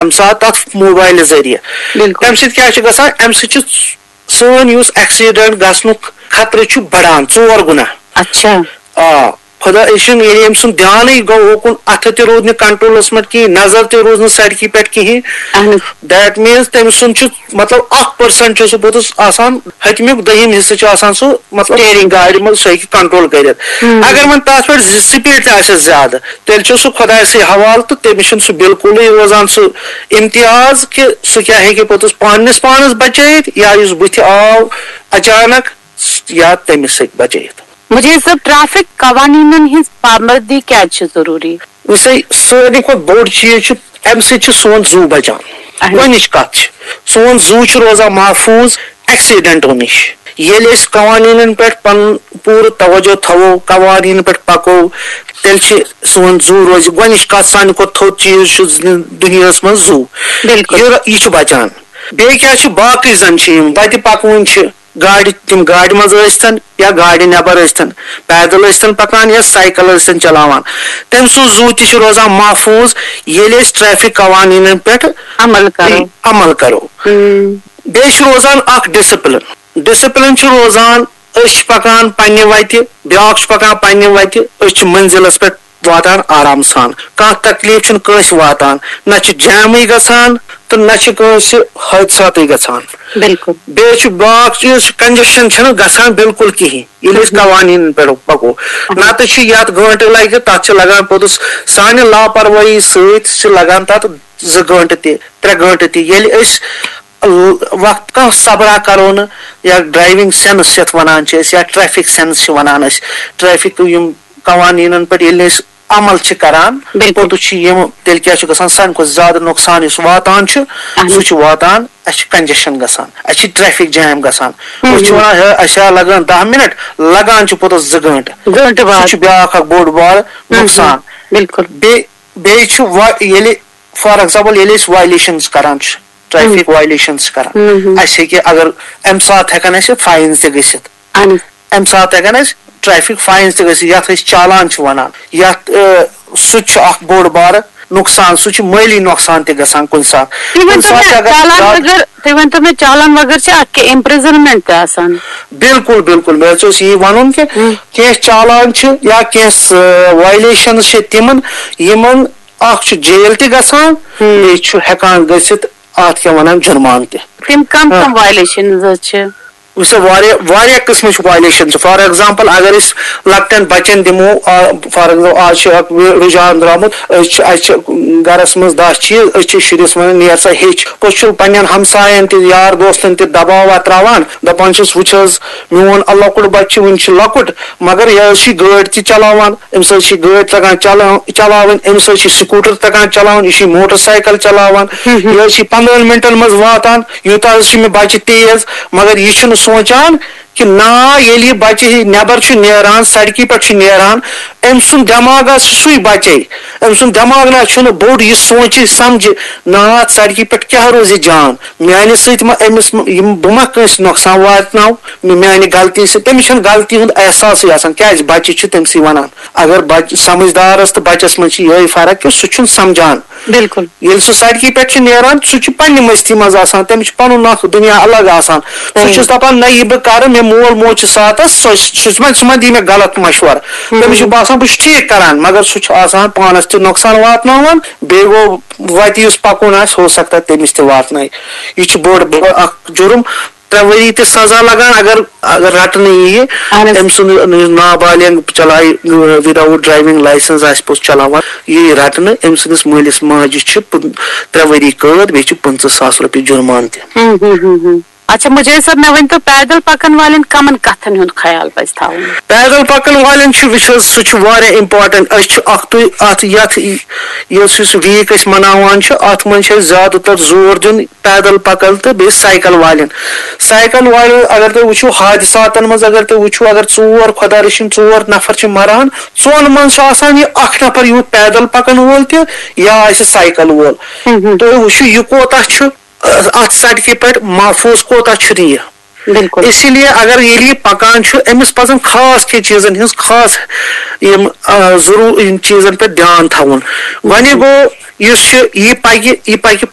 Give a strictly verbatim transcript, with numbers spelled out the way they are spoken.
تَمہِ ساتہٕ تَتھ موبایلہٕ ذٔریعہٕ۔ بِلکُل۔ تَمہِ سۭتۍ کیٛاہ چھُ گژھان؟ اَمہِ سۭتۍ چھُ سٲنۍ یُس ایکسیڈنٹ گژھنُک خطرٕ چھُ بڑان ژور گُنا۔ اچھا۔ آ، خۄدا، یہِ چھُنہٕ، ییٚلہِ أمۍ سُنٛد دیانٕے گوٚو اوکُن، اَتھٕ تہِ روٗد نہٕ کنٹرولس منٛز کِہیٖنۍ، نظر تہِ روٗز نہٕ سڑکہِ پٮ۪ٹھ کِہیٖنۍ۔ اہن حظ۔ That means تٔمۍ سُنٛد چھُ، مطلب، اکھ پٔرسنٹ چھُ سُہ پوٚتُس آسان، ہیٚتمیُک دوٚیِم حصہٕ چھُ آسان سُہ، مطلب، Steering۔ گاڑِ منٛز سُہ ہیٚکہِ کنٹرول کٔرِتھ۔ ہم۔ اگر وۄنۍ تَتھ پٮ۪ٹھ زِ سپیٖڈ تہِ آسٮ۪س زیادٕ، تیٚلہِ چھُ سُہ خۄدایہِ سٕے حوالہٕ تہٕ تٔمِس چھُنہٕ سُہ بِلکُلٕے روزان سُہ امتیاز کہِ سُہ کیٛاہ ہیٚکہِ پوٚتُس پننِس پانس بچٲیِتھ یا یُس بٕتھِ آو اچانک یا تٔمِس ہیٚکہِ بچٲیِتھ۔ مجید صٲب، ٹریفک قوانینن ہٕنٛز پابندی کیازِ چھِ ضروٗری؟ وٕچھ سا، ساروی کھۄتہٕ بوٚڑ چیٖز چھُ، اَمہِ سۭتۍ چھُ سون زُو بچان۔ اہن۔ گۄڈٕنِچ کتھ چھِ، سون زُو چھُ روزان محفوٗظ ایکسیڈنٹو نِش۔ ییٚلہِ أسۍ قوانینن پٮ۪ٹھ پنُن پوٗرٕ توجہ تھاوو، قوانینن پٮ۪ٹھ پکو، تیٚلہِ چھِ سون زُو روزِ۔ گۄڈٕنِچ کتھ، سانہِ کھۄتہٕ تھوٚد چیٖز چھُ زِ-، دُنیاہس منٛز زُو۔ بِلکُل۔ یہِ، یہِ چھُ بچان۔ بیٚیہِ کیٛاہ چھُ؟ باقٕے زن چھِ یِم وتہِ پکوٕنۍ چھِ، گاڑِ، تِم گاڑِ منٛز ٲسۍتن یا گاڑِ نٮ۪بر ٲسۍتن، پیدل ٲسۍتن پکان یا سایکل ٲسۍتن چلاوان، تٔمۍ سُنٛد زُو تہِ چھُ روزان محفوٗظ، ییٚلہِ أسۍ ٹریفک قوانینن پٮ۪ٹھ عمل کرو۔ عمل کرو۔ ہم۔ بیٚیہِ چھُ روزان اکھ ڈسپلن۔ ڈسپلن چھُ روزان، أسۍ چھِ پکان پننہِ وتہِ، بیٛاکھ چھُ پکان پننہِ وتہِ، أسۍ چھِ منزلس پٮ۪ٹھ واتان آرام سان، کانٛہہ تکلیف چھُنہٕ کٲنٛسہِ واتان، نہ چھُ جیمٕے گژھان تہٕ نہ چھُ کٲنٛسہِ حٲدثاتٕے گژھان۔ بِلکُل۔ بیٚیہِ چھُ بیٛاکھ چیٖز، چھُ کنجشن چھَنہٕ گژھان بِلکُل کِہیٖنۍ، ییٚلہِ أسۍ قوانینن پٮ۪ٹھ پکو۔ نتہٕ چھِ یتھ گٲنٹہٕ لگہِ، تتھ چھِ لگان پوٚتُس، سانہِ لاپروٲہی سۭتۍ چھِ لگان تتھ زٕ گٲنٹہٕ تہِ، ترٛےٚ گٲنٹہٕ تہِ۔ ییٚلہِ أسۍ ال-، وقت کانٛہہ صبرا کرو نہٕ، یا ڈرایونگ سینس یتھ ونان چھِ أسۍ، یا ٹریفک سینس چھِ ونان أسۍ، ٹریفک یِم قوانینن پٮ۪ٹھ ییٚلہِ نہٕ أسۍ عمل چھِ کران، بِلکُل۔ پوٚتُس چھُ یِم، تیٚلہِ کیٛاہ چھُ گژھان؟ سانہِ کھۄتہٕ زیادٕ نۄقصان یُس واتان چھُ، اہن۔ سُہ چھُ واتان، اَسہِ چھُ کنجشن گژھان، اَسہِ چھُ ٹریفک جیم گژھان۔ ہم۔ أسۍ چھِ ونان، ہے، اَسہِ ہا لگان دَہ مِنٹ، لگان چھِ پوٚتُس زٕ گٲنٹہٕ۔ گٲنٹہٕ سُہ بعد۔ چھُ بیٛاکھ اکھ بوٚڑ بارٕ نۄقصان۔ بِلکُل۔ بیٚیہِ، بیٚیہِ چھُ وا-، ییٚلہِ، فار ایگزامپل، ییٚلہِ أسۍ وایلیشنز کران چھِ، ٹریفک وایلیشنز چھِ کران، ہم۔ اَسہِ ہیٚکہِ، اگر اَمہِ ساتہٕ ہٮ۪کن اَسہِ فاینز تہِ گٔژھِتھ۔ اہن حظ۔ اَمہِ ساتہٕ ہٮ۪کن اَسہِ ٹریفک فاینز تہِ گٔژھِتھ، یَتھ أسۍ چالان چھِ وَنان، یَتھ، آ، سُہ تہِ چھُ اکھ بوٚڑ بارٕ نۄقصان، سُہ چھُ مٲلی نۄقصان تہِ گژھان کُنہِ ساتہٕ۔ تُہۍ کُنہِ ؤنۍتو ساتہٕ چھِ مےٚ، اگر چالان زیادٕ وغٲر، تُہۍ ؤنۍتو مےٚ، چالان وغٲر چھِ اَتھ کینٛہہ امپرزنمنٹ تہِ آسان؟ بِلکُل، بِلکُل، مےٚ حظ اوس یی وَنُن کہِ کینٛہہ چالان چھِ یا کینٛہہ وایلیشنز چھِ تِمن، یِمن اکھ چھُ جیل تہِ گژھان، بیٚیہِ چھُ ہٮ۪کان گٔژھِتھ اَتھ کیٛاہ وَنان، جُرمان تہِ۔ تِم کم کم وایلیشنز حظ چھِ؟ وٕچھ سا، واریاہ، واریاہ قٕسمٕچ وایلیشن چھِ۔ فار ایگزامپل، اگر أسۍ لۄکٹٮ۪ن بچن دِمو، آ، فار ایگزامپل، آز چھُ اکھ رُ-، رُجحان درٛامُت، أسۍ چھِ، اَسہِ چھِ گرس منٛز دَہ چیٖز، أسۍ چھِ شُرِس وَنان، "نیر سا ہیٚچھ۔" پوٚتُس چھُ پننٮ۪ن ہمساین تہِ، یار دوستن تہِ دباوا تراوان، دپان چھِس، "وٕچھ حظ، میون لۄکُٹ بچہِ چھُ، وٕنہِ چھُ لۄکُٹ، مگر یہِ حظ چھِ گٲڑۍ تہِ چلاوان، أمِس حظ چھِ گٲڑۍ تگان چلاو-، چلاوٕنۍ، أمِس حظ چھِ سکوٗٹر تگان چلاوُن، یہِ چھِ موٹر سایکل چلاوان، یہِ حظ چھِ پندہن منٹن منٛز واتان، یوٗتاہ حظ چھِ مےٚ بچہِ تیز۔" مگر یہِ چھُنہٕ سونٛچان کہِ نا، ییٚلہِ یہِ بچہِ ہے نٮ۪بر چھُ نیران، سڑکہِ پٮ۪ٹھ چھُ نیران، أمۍ سُنٛد دٮ۪ماغ حظ چھُ سُے بچے۔ أمۍ سُنٛد دٮ۪ماغ نہ حظ چھُنہٕ بوٚڑ، یہِ سونٛچہِ سمجھِ، نا، اتھ سڑکہِ پٮ۪ٹھ کیٛاہ روزِ جان؟ میانہِ سۭتۍ ما أمِس م-، یِم، بہٕ ما کٲنٛسہِ نۄقصان واتناو؟ مےٚ، میانہِ غلطی سۭتۍ، تٔمِس چھُنہٕ غلطی ہُنٛد احساسٕے آسان۔ کیٛازِ؟ بچہِ چھِ تٔمسٕے ونان۔ اگر بچ-، سمجھدارس تہٕ بچس منٛز چھِ یِہے فرق کہِ سُہ چھُنہٕ سمجھان۔ بِلکُل۔ ییٚلہِ سُہ سڑکہِ پٮ۪ٹھ چھُ نیران، سُہ چھُ پننہِ مستی منٛز آسان، تٔمِس چھُ پنُن اکھ دُنیا الگ آسان۔ سُہ چھُس دپان، نہ، یہِ بہٕ کرٕ، مےٚ مول موج چھُ ساتس، سُہ، سُہ، سُہ ما، سُہ ما دی مےٚ غلط مشورٕ۔ تٔمِس چھُ باسان، بہٕ چھُس ٹھیٖک کران، مگر سُہ چھُ آسان پانس تہِ نۄقصان واتناوان، بیٚیہِ گوٚو وتہِ یُس پکُن آسہِ، ہو سکتا ہے تٔمِس تہِ واتنایہِ۔ یہِ چھُ بوٚڑ بار اکھ جُرم۔ ترٛےٚ ؤری تہِ سزا لگان اگر، اگر رٹنہٕ ییہِ۔ أمۍ سُنٛد نابالغ چلایہِ without driving license آسہِ پوٚز چلاوان، یہِ یی رٹنہٕ، أمۍ سٕنٛدِس مٲلِس ماجہِ چھِ پٕن-، ترٛےٚ ؤری قٲد، بیٚیہِ چھِ پٕنٛژٕہ ساس رۄپیہِ جُرمانہٕ تہِ۔ ہم، ہم، ہم، ہم۔ اچھا مجید صٲب، مےٚ ؤنۍ تو، پیدل پکن والٮ۪ن کمن کتھن ہُنٛد خیال پزِ تھاوُن؟ پیدل پکن والٮ۪ن چھُ، وٕچھ حظ، سُہ چھُ واریاہ important۔ أسۍ چھِ اکھ تُے اتھ، یتھ یُس، یُس ویٖک أسۍ مناوان چھِ، اتھ منٛز چھِ أسۍ زیادٕ تر زور دیُن پیدل پکن تہٕ بیٚیہِ سایکل والٮ۪ن۔ سایکل والٮ۪ن اگر تُہۍ وٕچھِو، حادثاتن منٛز اگر تُہۍ وٕچھِو، اگر ژور، خۄدا رٔچھِنۍ، ژور نفر چھِ مران، ژۄن منٛز چھُ آسان یہِ اکھ نفر یوٗت پیدل پکن وول تہِ یا آسہِ سایکل وول۔ تُہۍ وٕچھِو، یہِ کوتاہ چھُ، اتھ سڑکہِ پٮ۪ٹھ محفوٗظ کوتاہ چھُنہٕ یہِ۔ بِلکُل۔ اسی لیے اگر ییٚلہِ یہِ پکان چھُ، أمِس پزن خاص کینٛہہ چیٖزن ہٕنٛز خاص یِم، آ، ضروٗر، یِم چیٖزن پٮ۪ٹھ دیان تھاوُن۔ وۄنۍ گوٚو، یُس یہِ، یہِ پکہِ، یہِ پکہِ